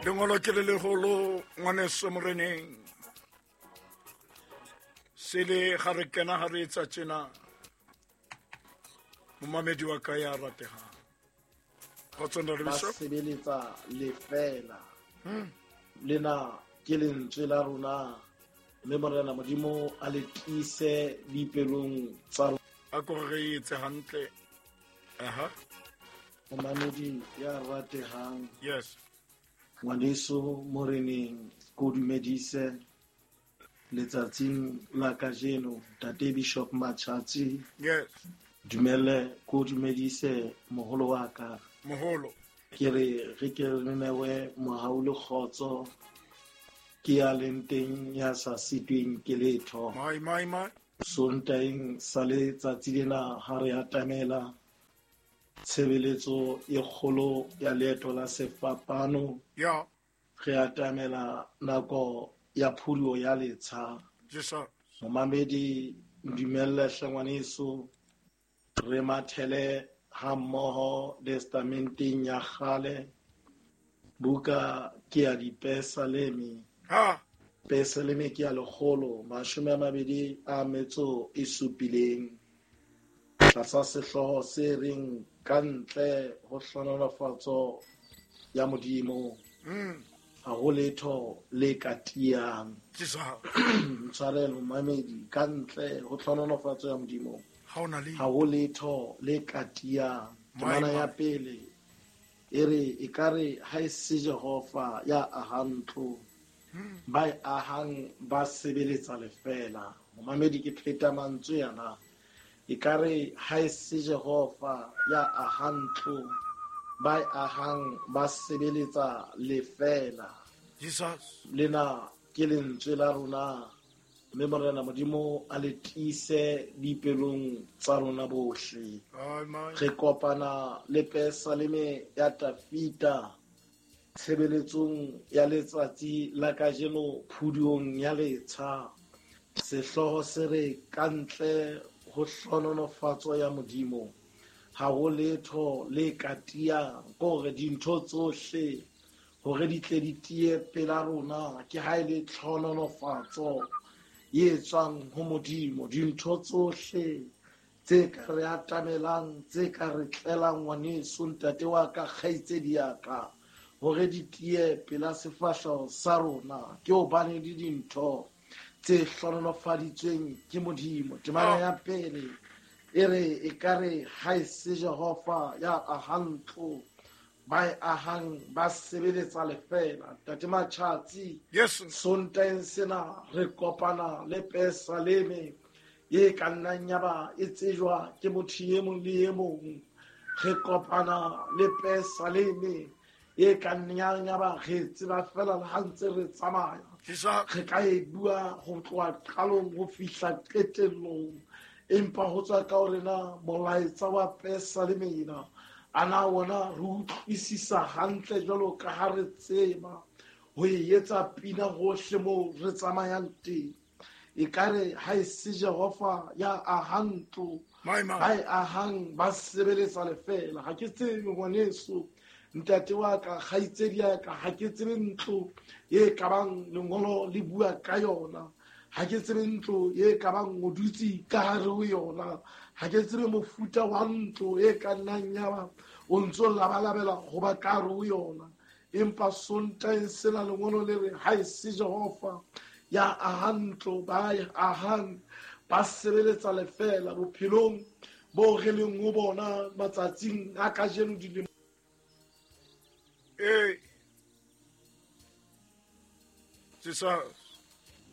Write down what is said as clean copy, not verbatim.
Lengolo ke le leholo ngwaneso moreneng. Sele ga re kena ga re etsa tjena. Momamedi wa ka ya ratehang. Kgotso Ntate Ba Bishop. sebeletsa lefela. Lena ke lentswe la rona mme Morena Modimo a le tiise dipelong tsa rona. A ko re re etse hantle. Aha. Momamedi ya ratehang. Yes. Ngwaneso moreneng ko dumedise letsatsing la kajeno Ntate Bishop Machatsi. Yes. Dumele ko dumedise moholo wa ka. Moholo. Ke re re ke re newe mohau le kgotso ke ya leng teng ya sa sitweng ke letho. Mai mai mai. Sontaeng sa letsatsi lena ha re atamela tshebeletso e kgolo ya leeto la sefapano. Ya. Re atamela nako ya phuduo ya letsha. Jesus. Momamedi, ndumelle hle ngwaneso, re mathele ha mmoho testamenteng ya kgale. Buka ke ya Dipesaleme. Ha. Pesaleme ke ya 127. Tlasa sehlooho se reng ka ntle ho hlohonolofatso ya Modimo. Ha ho letho le ka tiyang. Jesus. Ntshwarelo momamedi, ka ntle ho hlohonolofatso ya Modimo. Ha ho na le. Ha ho letho le ka tiyang. My Temana ya God. pele e re ekare ha e se Jehova ya ahang ntlo, ba e ahang ba sebeletsa lefela. Momamedi, ke pheta mantswe ana. Ekare ha e se Jehova ya ahang ntlo, ba e ahang ba sebeletsa lefela. Jesus. Lena ke lentswe la rona mme Morena Modimo a le tiise dipelong tsa rona bohle. Amen. Re kopana le Pesaleme ya Tafita tshebeletsong ya letsatsi la kajeno phuduong ya letsha. Sehlooho se re ka ntle ho hlohonolofatso ya Modimo ha ho letho le ka tiyang, ke hore dintho tsohle hore di tle di tiye pela rona ke ha e le tlhohonolofatso e tswang ho Modimo. Dintho tsohle tse ka re atamelang, tse ka re tlelang ngwaneso, ntate wa ka, kgaitsedi ya ka, hore di tiye pela sefahleho sa rona ke hobane le dintho tse hlohonolofaditsweng ke Modimo. Temana ya pele e re ekare ha e se Jehova ya ahang ntlo, ba e ahang ba sebeletsa lefela. Ntate Machatsi, Yes. Sontaeng sena re kopana le Pesaleme e ka nnang ya ba e tsejwa ke motho e mong le e mong. Re kopana le Pesaleme e ka nnang ya ba re tseba fela le ha ntse re tsamaya. Jesus. Re ka e bua ho tloha qalong ho fihla qetellong, empa ho tswa ka hore na molaetsa wa Pesaleme ena a na wona re utlwisisa hantle jwalo ka ha re tseba ho e etsa pina hohle moo re tsamayang teng. Ekare ha e se Jehova ya ahang ntlo, My man. ba e ahang ba sebeletsa lefela. Ha ke tsebe ngwaneso, ntate wa ka, kgaitsedi ya ka, ha ke tsebe ntlo e ka bang lengolo le bua ka yona. Ha ke tsebe ntlo e ka bang o dutse ka hare ho yona. Ha ke tsebe mofuta wa ntlo e ka nnang ya ba o ntso labalabela ho ba ka hare ho yona. Empa Sontaeng sena lengolo le re ha e se Jehova ya ahang ntlo, ba e ahang ba sebeletsa lefela. Bophelong bo re leng ho bona matsatsing a kajeno dilemo. Ee. Jesus.